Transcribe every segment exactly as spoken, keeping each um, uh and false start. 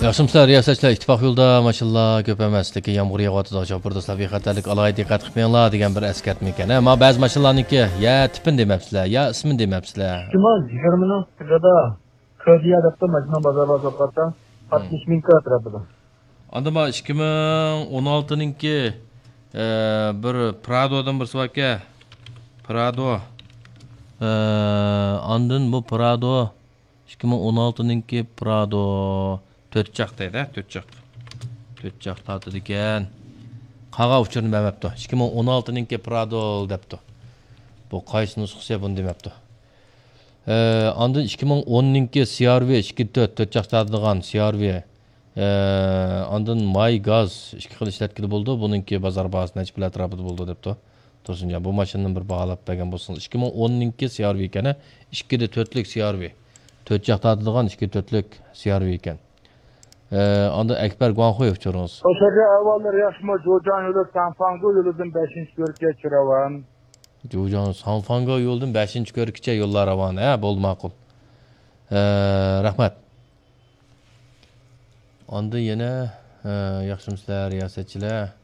ياخشىمۇسىلەر رىياسەتچىلەر؟ ئىتتىپاق يولىدا ماشىنىلار كۆپ ئەمەس، لېكىن يامغۇر يېغىۋاتىدۇ. شوپۇر دوستلار، بىخەتەرلىك ئالاھىدە دىققەت قىلىپ مېڭىڭلار دېگەن بىر ئەسكەرتمە ئىكەن. ھە، ما بەزى ماشىنىلارنىڭكى يا تىپىنى دېمەپسىلەر، يا ئىسمىنى دېمەپسىلەر. ئىككى مىڭ يىگىرمىنىڭ سىرىدا كۆدىيە دەپتۇ، ماشىنا بازارغا سوققاندا، ئاتمىش مىڭ كىراتتى. ئاندىن ما ئىككى مىڭ ئون ئالتىنىڭكى، ئە، بىر پرادودىن بىرسى باركەن. پرادو. ئە، ئاندىن بۇ پرادو. ئىككى مىڭ ئون ئالتىنىڭكى پرادو تۆت چاق دەيدۇ، تۆت چاق. تۆت چاق تارتىدىكەن. قالغان ئۇچۇرنى بەرمەپتۇ. ئىككى مىڭ ئون ئالتىنىڭكى پرادو دەپتۇ. بۇ قايسى نۇسخىسى، بۇنى دېمەپتۇ. ئە، ئاندىن ئىككى مىڭ ئوننىڭكى سى ئار ۋى ئىككى تۆت، تۆت چاق تارتىدىغان سى ئار ۋى. ئە، ئاندىن ماي، گاز، ئىككى خىل ئىشلەتكىلى بولىدۇ. بۇنىڭكى بازار باھاسى نەچچە پۇل ئەتراپىدا بولىدۇ دەپتۇ. تۇرسۇنجان، بۇ ماشىنىنى بىر باھالاپ بەرگەن بولسىڭىز. ئىككى مىڭ ئوننىڭكى سى ئار ۋى ئىكەن، ئىككىدە تۆتلۈك سى ئار ۋى. تۆت چاق تارتىدىغان ئىككى تۆتلۈك سى ئار ۋى ئىكەن. ئە، ئاندىن ئەكبەر گۇاڭخۇي ئۇچۇرىڭىز. خوش ئەھۋاللار ياخشىمۇ؟ جۇجاڭ يولى سانفاڭگو يولىدىن بەشىنچى كۆرۈككە چۈرەۋان. جۇجاڭ سانفاڭگو يولىدىن بەشىنچى كۆرۈككىچە يوللار راۋان. ھە، بولدى، ماقۇل. ئە، رەھمەت. ئاندىن يەنە، ئە، ياخشىمۇسىلەر رىياسەتچىلەر؟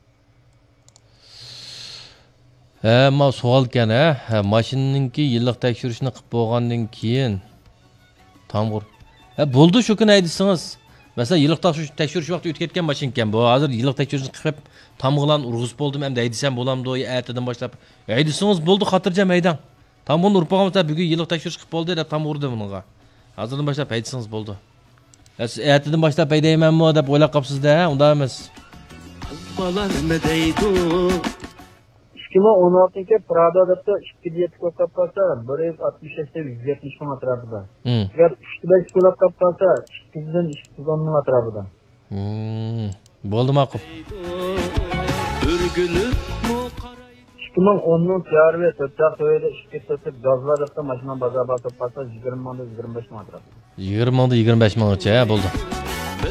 ھە، ما سوئالكەن، ھە؟ ھە، ماشىنىنىڭكى يىللىق تەكشۈرۈشنى قىلىپ بولغاندىن كېيىن تامغۇر. ھە، بولدى، شۇ كۈنى ھەيدىسىڭىز. مەسىلەن، يىللىق تەكشۈرۈش، تەكشۈرۈش ۋاقتى ئۆتۈپ كەتكەن ماشىنىكەن بۇ. ھازىر يىللىق تەكشۈرۈشنى قىلىپ، تامغىلارنى ئۇرغۇزۇپ بولدۇم، ئەمدى ھەيدىسەم بولامدۇ؟ يا ئەتىدىن باشلاپ ھەيدىسىڭىز بولدى، خاتىرجەم ھەيدەڭ. تامغۇرنى ئۇرۇپ بولغان بولسا، بۈگۈن يىللىق تەكشۈرۈش قىلىپ بولدى دەپ تامغۇردى بۇنىڭغا. ھازىردىن باشلاپ ھەيدىسىڭىز بولدى. ھە، سىز ئەتىدىن باشلاپ ھەيدەيمەنمۇ دەپ ئويلاپ قاپسىز-دە، ھە؟ ئۇنداق ئەمەس. قىز بالا نېمە دەيدۇ؟ ئىككى مىڭ ئون ئالتىنچى پرادا دەپتۇ، ئىككىدە يەتتە كولاپ قالسا، بىر يۈز ئاتمىش يەتتە، يۈز يەتمىش مىڭ ئەتراپىدا. ھىم. ئەگەر ئۈچتە بەش كولاپ قالسا، ئىككىدىن ئىككى يۈز ئون مىڭ ئەتراپىدا. ھىم. بولدى، ماقۇل. ئىككى مىڭ ئوننىڭ سى ئار ۋى تۆت چاق تۆۋەيدە ئىككى تۆتلۈك گازلار دەپتۇ، ماشىنا بازار باھاسى قالسا، يىگىرمە مىڭدىن يىگىرمە بەش مىڭ ئەتراپىدا. يىگىرمە مىڭدىن يىگىرمە بەش مىڭغىچە، ھە، بولدى.